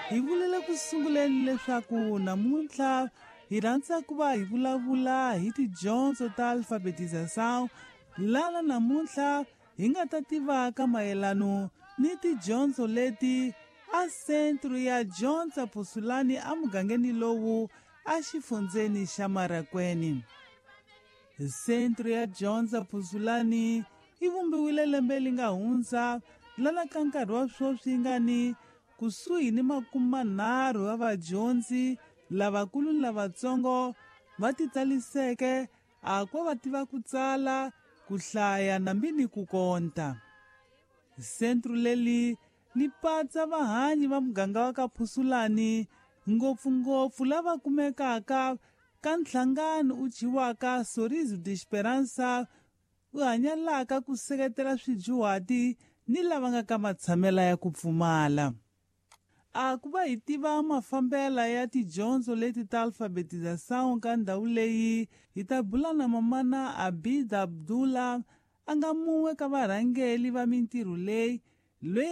Hi vulele ku sunguleni leswaku namuntlha hi rhandza ku va hi vulavula hi tidyondzo ta alfabetização lana namuntlha hi nga ta tivaka mayelano ni tidyondzo leti a sentro ya dyondza Phusulani emugangeni lowu exifundzeni xa Marakweni. Sentro ya dyondza Phusulani yi vumbiwile lembe li nga hundza lana ka nkarhi wa sweswi yi nga ni kusuhi ni 30 wa vadyondzi lavakulu ni lavatsongo va titsaliseke a ko va tiva ku tsala, ku hlaya nambi ni ku konta. Sentro leli li patsa vahanyi va muganga wa ka Phusulani ngopfungopfu lava kumekaka ka nhlangano u thyiwaka Sorriso de Esperança u hanyalaka ku seketela swidyuhati ni lava nga ka matshamela ya ku pfumala. A ku va hi tiva mafambela ya tidyondzo leti ta alfabetização ka ndhawu leyi hi ta bula na mamana Abida Abdullah a nga mun'we ka varhangeli va mintirho leyi loyi.